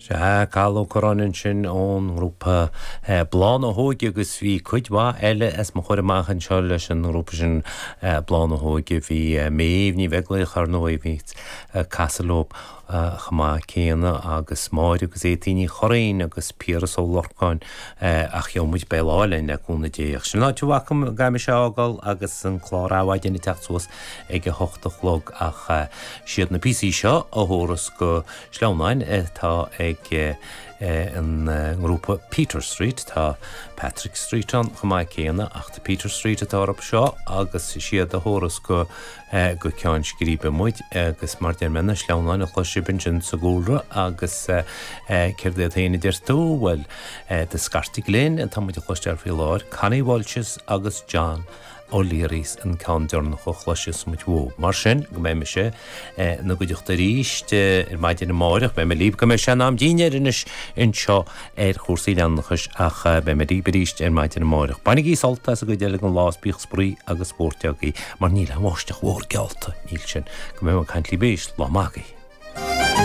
Sea, Cathal Ó Curráin ansin ón ngrúpa Bláth na hÓige agus bhí cuid mhaith eile as mo chomhair amach anseo leis an ngrúpa sin Bláth na hÓige. Bhí Méabh Ní Bheaglaoich ar ndóigh, bhí ag casadh leo chomh maith céanna agus Máire agus Étaín Ní Churraoin agus Piaras Ó Lorcáin ach gheobhaidh muid beidh lá eile le cúnamh Dé. Ach sin an áit a bhfaca go gcaithfidh mise a fhágáil agus an clár Adhmhaidin ag teacht suas ag a hocht a chlog ach siad na píosaí seo a thabharfas go Sleamhnáin atá ag an ngrúpa Peter Street. Tá Patrick Street ann chomh maith céanna ach The Peter Street atá orthu seo agus is iad a thabharfas go go ceann scríbe muid agus mar deir mé na sleamhnáin a chlois sibh ansin sa gcúlra agus céard iad féin a deir tú? Bhuel, The Scartaigh Linn atá muid a chloisteáil faoi láthair, Connie Walshes agus John O'Learys an ceann deireanach a chloisfeas muid uathu. Mar sin, go mbeidh mise ina gcuideachta arís ar maidin amáireach. Beidh mé libh go mbeidh sé in am dinnéir anois anseo ar chúrsaí leanúnachais ach beidh mé libh arís ar maidin amáireach. Bainigí sult as an gcuid eile den lá is bíodh spraoi agus spórt agaibh mar níl aon bháisteach mhór geallta, níl sin. Go mbeidh mé ag caint libh arís, lá maith agaibh.